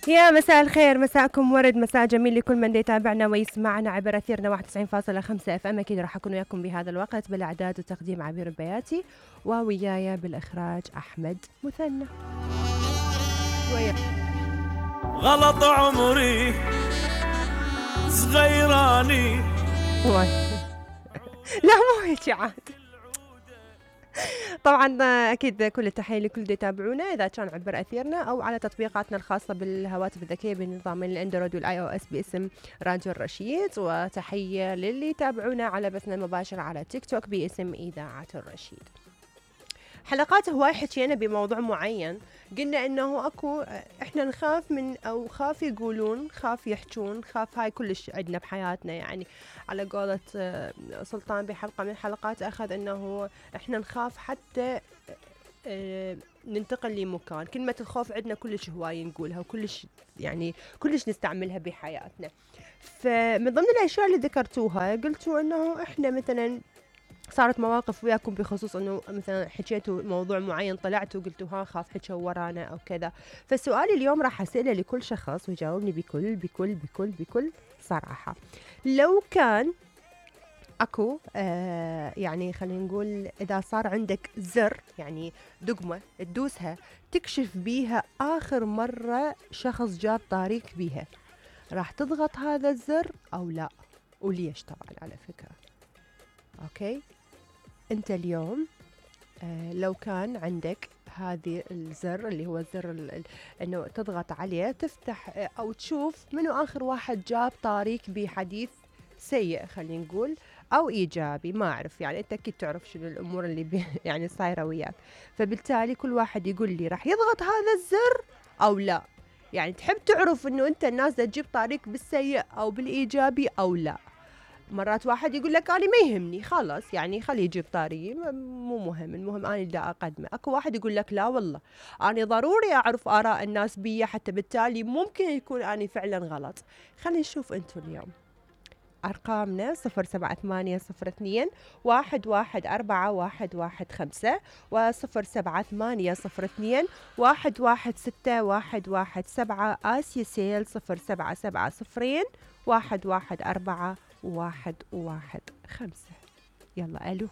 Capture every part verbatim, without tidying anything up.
يا مساء الخير، مساءكم ورد، مساء جميل لكل من يتابعنا ويسمعنا عبر أثيرنا واحد وتسعين فاصلة خمسة اف ام. اكيد راح اكون وياكم بهذا الوقت بالاعداد وتقديم عبير البياتي، ووياي بالاخراج احمد مثنى. ويا غلط عمري صغيراني لا مو هيك عاد. طبعا اكيد كل التحيه لكل اللي يتابعونا اذا كان عبر اثيرنا او على تطبيقاتنا الخاصه بالهواتف الذكيه بنظام الاندرويد والاي او اس باسم راديو الرشيد، وتحيه للي يتابعونا على بثنا المباشر على تيك توك باسم اذاعه الرشيد. حلقات هواي حكينا بموضوع معين، قلنا انه اكو احنا نخاف من او خاف يقولون، خاف يحجون، خاف هاي كلش عندنا بحياتنا. يعني على قولة سلطان بحلقة من الحلقات اخذ انه احنا نخاف حتى ننتقل لمكان. كلمة الخوف عندنا كلش هواي نقولها وكلش يعني كلش نستعملها بحياتنا. فمن ضمن الاشياء اللي ذكرتوها قلتوا انه احنا مثلا صارت مواقف وياكم بخصوص انه مثلا حكيتوا موضوع معين، طلعتوا قلتوا ها خاف حكوا ورانا او كذا. فسؤالي اليوم راح اساله لكل شخص ويجاوبني بكل بكل بكل بكل صراحه. لو كان اكو آه يعني خلينا نقول اذا صار عندك زر، يعني دقمه تدوسها تكشف بيها اخر مره شخص جاب طاريك بيها، راح تضغط هذا الزر او لا؟ وليش طبعا على فكره. اوكي، انت اليوم آه لو كان عندك هذه الزر اللي هو الزر انه تضغط عليه تفتح آه او تشوف منو اخر واحد جاب طاريك بحديث سيء خلينا نقول او ايجابي، ما اعرف، يعني انت اكيد تعرف شنو الامور اللي بي يعني صايره وياك. فبالتالي كل واحد يقول لي راح يضغط هذا الزر او لا. يعني تحب تعرف انه انت الناس تجيب طاريك بالسيء او بالايجابي او لا. مرات واحد يقول لك أنا ما يهمني خلاص، يعني خليه يجيب طاري مو مهم، المهم أنا اللي أقدمه. أكو واحد يقول لك لا والله أنا ضروري أعرف آراء الناس بي حتى بالتالي ممكن يكون أنا فعلا غلط. خلينا نشوف أنتم اليوم أرقامنا صفر سبعة ثمانية صفر اثنين واحد واحد أربعة واحد واحد خمسة وصفر سبعة ثمانية صفر اثنين واحد واحد ستة واحد واحد سبعة. آسيا سيل صفر سبعة سبعة صفرين واحد واحد أربعة واحد واحد خمسة. يلا ألو.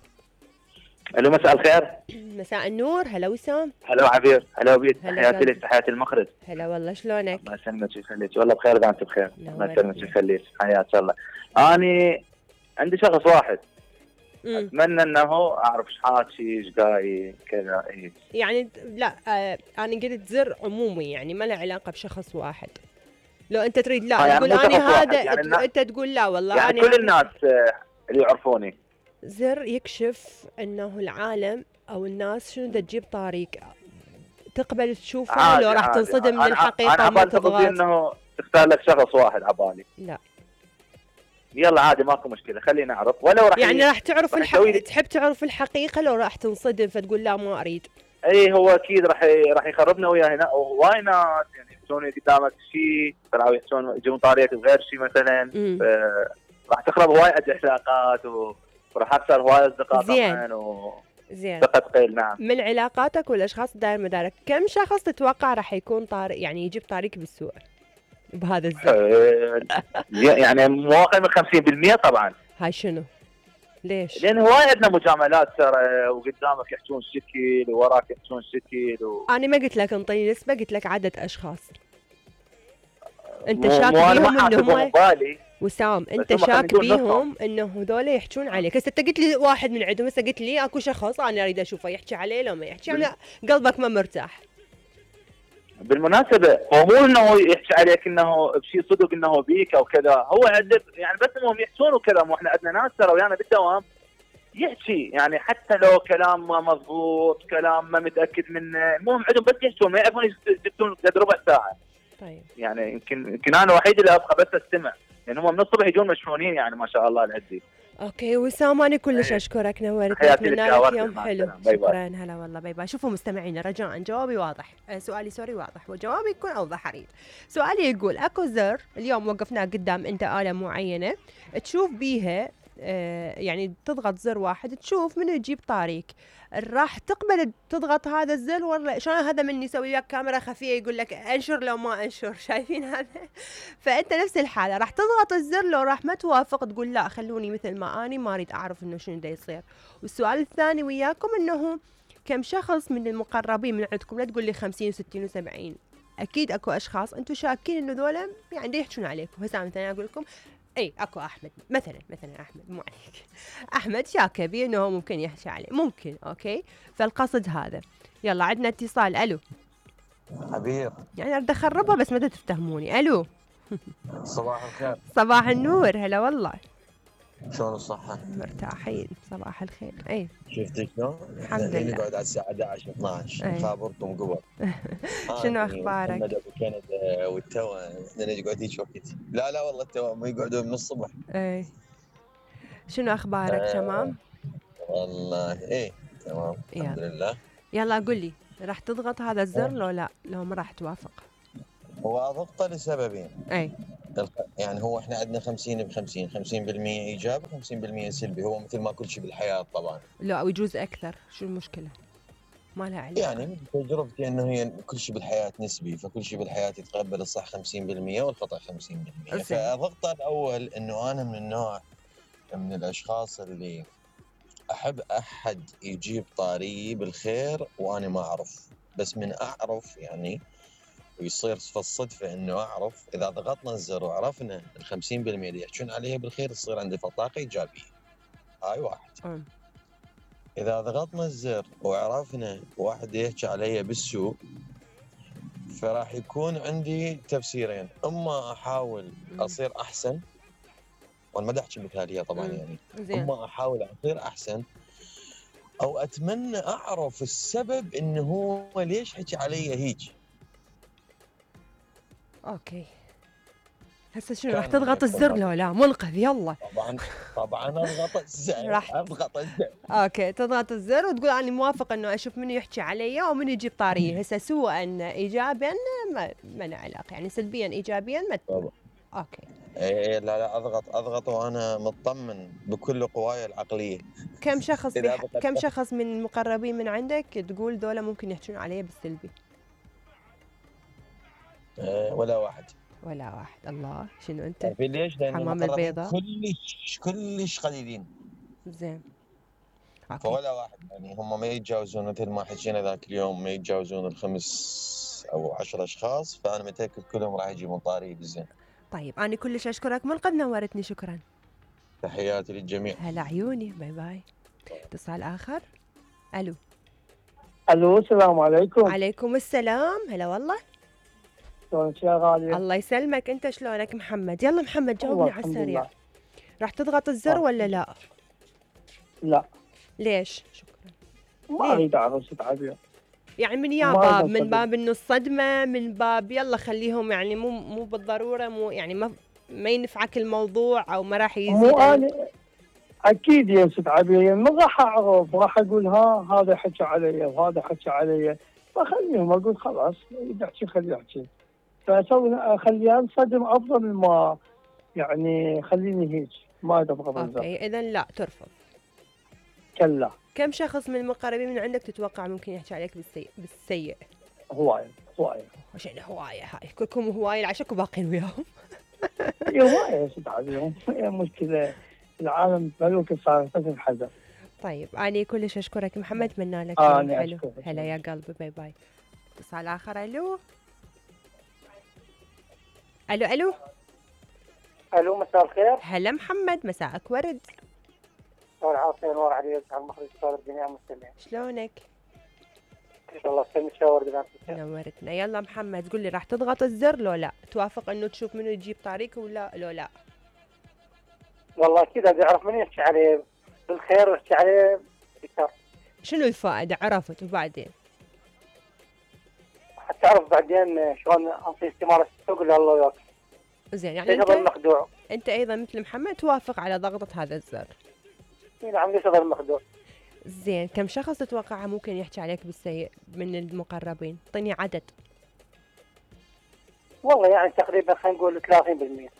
ألو مساء الخير. مساء النور. هلا وسام. هلا عبير. هلا بيت. تحياتي لك، تحياتي المخرج. هلا والله، شلونك؟ الله يسلمك ويخليك. والله بخير اذا انت بخير. الله يسلمك ويخليك. حياك الله. اني عندي شخص واحد مم. اتمنى انه اعرف ايش حاكي ايش قايل كذا. ايه يعني لا آه انا قلت زر عمومي، يعني ما له علاقه بشخص واحد. لو انت تريد لا يعني تقول اني هذا يعني انت تقول لا والله يعني كل الناس اللي يعرفوني. زر يكشف انه العالم او الناس شنو دا تجيب طاريق، تقبل تشوفه لو راح تنصدم من الحقيقه وما تضغط. انه تختار لك شخص واحد عبالي. لا يلا عادي ماكو مشكله، خلينا نعرف. ولو راح يعني راح تعرف الحقيقه، تحب تعرف الحقيقه لو راح تنصدم فتقول لا ما اريد. اي هو اكيد راح راح يخربنا وياه هنا. وهواي ناس يعني يحسون قدامك شيء طلعوا يحسون يجون طاريك بغير شيء مثلا، راح تخرب هواي علاقات وراح اخسر هواي اصدقاء طبعا و زين تقيل. نعم. من علاقاتك والاشخاص داير مدارك كم شخص تتوقع راح يكون طارق يعني يجيب طاريك بالسوق بهذا الزمن؟ يعني مو اقل من خمسين بالمئة طبعا. هاي شنو؟ ليش؟ لان هواي عندنا مجاملات ترى، وقدامك يحجون شكل ووراك يحجون شكل و... انا ما قلت لك انطيني نسبه، قلت لك عدد اشخاص انت شاك بيهم انهم وسام، انت شاك بيهم انه هذول يحجون عليك. هسه انت قلت لي واحد من عندهم، هسه قلت لي اكو شخص انا اريد اشوفه يحكي عليه لو ما يحكي، يعني قلبك ما مرتاح. بالمناسبه هو مو انه يحكي عليك انه بشيء صدق انه بيك او كذا، هو عنده يعني بس انهم يحكون وكذا. مو احنا عندنا ناس ترى ويانا بالدوام يحكي يعني حتى لو كلام ما مضبوط، كلام ما متاكد منه، المهم عندهم بس يحكون ما يعرفون يسكتون قد ربع ساعه. طيب يعني يمكن يمكن انا الوحيد اللي ابقى بس استمع، لان يعني هم من الصبح يجون مشحونين يعني ما شاء الله العدي. اوكي وسام انا كلش اشكرك، نورتني، اتمنى لك يوم حلو. شكرا. هلا والله باي باي. شوفوا مستمعينا رجاء جوابي واضح، آه سؤالي سوري واضح وجوابي يكون اوضح اريد. سؤالي يقول اكو زر اليوم وقفناه قدام انت آلة معينة تشوف بيها آه يعني تضغط زر واحد تشوف منو يجيب طاريك. راح تقبل تضغط هذا الزر ولا شلون؟ هذا من يسوي وياك كاميرا خفيه يقول لك انشر لو ما انشر، شايفين هذا؟ فانت نفس الحاله راح تضغط الزر، لو راح ما توافق تقول لا خلوني مثل ما اني، ما اريد اعرف انه شنو دا يصير. والسؤال الثاني وياكم انه كم شخص من المقربين من عندكم، لا تقول لي خمسين وستين وسبعين، اكيد اكو اشخاص انتم شاكين انه ذولا يعني دا يحجون عليكم. هسه مثلا اقول لكم اي اكو احمد مثلا، مثلا احمد مو عليك، احمد شاكه بي انه ممكن يحكي عليه، ممكن اوكي. فالقصد هذا. يلا عندنا اتصال. الو حبيب، يعني اريد اخربها بس ما تفتهموني. الو صباح الخير. صباح النور، هلا والله. شلون الصحة؟ مرتاحين، صباح الخير. اي شفتي شلون؟ الحمد الحين لله. نقعد على الساعة احد عشر اثنعش أي. نخابركم قبل. شنو أنا اخبارك؟ محمد ابو كندا والتوا احنا نقعد هيك وقت. لا لا والله التوا ما يقعدون من الصبح. اي شنو اخبارك؟ آه تمام والله ايه تمام الحمد يلا. لله. يلا قل لي، راح تضغط هذا الزر لو لا، لو ما راح توافق؟ هو اضغطه لسببين. اي يعني هو احنا عندنا خمسين بخمسين، خمسين بالمية ايجابي خمسين بالمية سلبي، هو مثل ما كل شيء بالحياة طبعا. لا، او يجوز اكثر، شو المشكله؟ ما لها علاقه. يعني من تجربتي انه هي كل شيء بالحياه نسبي، فكل شيء بالحياه يتقبل الصح خمسين بالمية والخطا خمسين بالمية. زين. فضغطه الاول انه انا من النوع من الاشخاص اللي احب احد يجيب طاري بالخير وانا ما اعرف، بس من اعرف يعني ويصير في الصدفه انه اعرف، اذا ضغطنا الزر وعرفنا ال خمسين بالمية اللي يحجون عليها بالخير تصير عندي طاقه ايجابيه. هاي واحد. أم. إذا ضغطنا الزر وعرفنا واحد يحكي علي بالسوء فراح يكون عندي تفسيرين، إما أحاول أصير أحسن، وأنا ما أحكي مثالية طبعا مم. يعني، زين. إما أحاول أصير أحسن أو أتمنى أعرف السبب إنه هو ليش حكي علي هيك. اوكي هسه شنو راح كان تضغط الزر لو لا؟ منقذ يلا. طبعا طبعا أضغط الزر راح- أضغط الزر اوكي تضغط الزر وتقول انا موافق انه اشوف منو يحكي علي ومن يجيب طاريه. هسه سوءا ايجابيا ما ما له علاقه، يعني سلبيا ايجابيا ما طبعا. اوكي. إيه لا لا أضغط أضغط وأنا مطمن بكل قواي العقلية. كم شخص إذا بح... ضغطت- كم شخص من المقربين من عندك تقول ذولا ممكن يحكون علي بالسلبي؟ إيه ولا واحد. ولا واحد. الله، شنو انت؟ في ليش؟ لأن حمام المقربين البيضاء. كلش كلش قليلين، زين اوكي. فولا واحد يعني هم ما يتجاوزون مثل ما حكينا ذاك اليوم، ما يتجاوزون الخمس او عشر اشخاص، فانا متاكد كلهم راح يجيبون طاري بالزين. طيب انا كلش اشكرك منقذ، نورتني، شكرا. تحياتي للجميع. هلا عيوني، باي باي. اتصال اخر. الو الو السلام عليكم. عليكم السلام، هلا والله. شلونك يا غالية؟ الله يسلمك، انت شلونك محمد؟ يلا محمد جاوبني والله على الحمد السريع. لله. راح تضغط الزر آه. ولا لا؟ لا ليش؟ شكرا. ما ليه؟ اريد اعرف شو تعبير. يعني من يا ما باب، أقدر من أصدق. باب انه الصدمه، من باب يلا خليهم يعني مو مو بالضروره، مو يعني ما ما ينفعك الموضوع او ما راح يزيد. مو انا اكيد يا ست عبير، من راح اعرف؟ راح اقول ها هذا حكى علي وهذا حكى علي، فخليهم اقول خلاص يحكي خليه يحكي، فاسوي اخليه انصدم افضل ما يعني خليني هيك ما ابغى بالزر. اوكي اذا لا ترفض. كلا كم شخص من المقربين من عندك تتوقع ممكن يحكي عليك بالسيء؟ بالسيء هوايه هوايه عشان هوايه، هاي كلكم هوايه العشاك وباقين وياهم. هي هوايه يا ست عبير، هي مشكله العالم ملوك صار بس الحذر. طيب أنا كلش أشكرك محمد، أتمنى لك آه، يوم أنا حلو. أشكرك. هلا يا قلبي، باي باي. اتصال آخر. ألو ألو ألو الو مساء الخير. هلا محمد، مساءك ورد. نور عاصي، نور علي، على المخرج صار الجميع مستمعين. شلونك؟ ان شاء الله سلمي شاور دلان. نورتنا. يلا محمد قول لي، راح تضغط الزر لو لا؟ توافق انه تشوف منو يجيب طريق ولا لو لا؟ والله اكيد ابي اعرف من يحكي عليه بالخير ويحكي عليه بالشر، شنو الفائدة؟ عرفت وبعدين؟ حتى اعرف بعدين شلون انطي استمارة السوق اللي الله وياك. زين يعني ليش اظل انت مخدوع؟ انت ايضا مثل محمد توافق على ضغطة هذا الزر. اي نعم، ليش اظل مخدوع؟ زين كم شخص تتوقع ممكن يحكي عليك بالسيء من المقربين؟ اعطيني عدد. والله يعني تقريبا خلينا نقول ثلاثين بالمئة.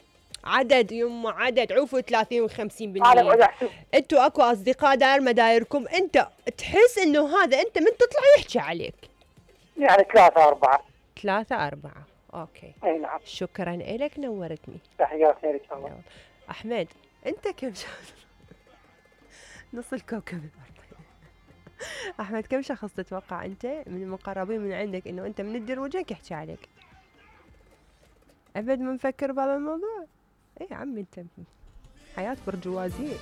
عدد يمه عدد عوفوا ثلاثين وخمسين انا بالمية. اقعد احسب انتوا اكو اصدقاء داير مدايركم انت تحس انه هذا انت من تطلع يحكي عليك. يعني ثلاثة أربعة. ثلاثة أربعة اوكي. اي نعم. شكرا لك نورتني. تحياتي لك الله. احمد انت كم شخص نص الكوكب الارضي. احمد كم شخص تتوقع انت من المقربين من عندك انه انت من تدير وجهك يحكي عليك؟ ابد ما نفكر بهذا الموضوع. اي عمي انت حياة برجوازية.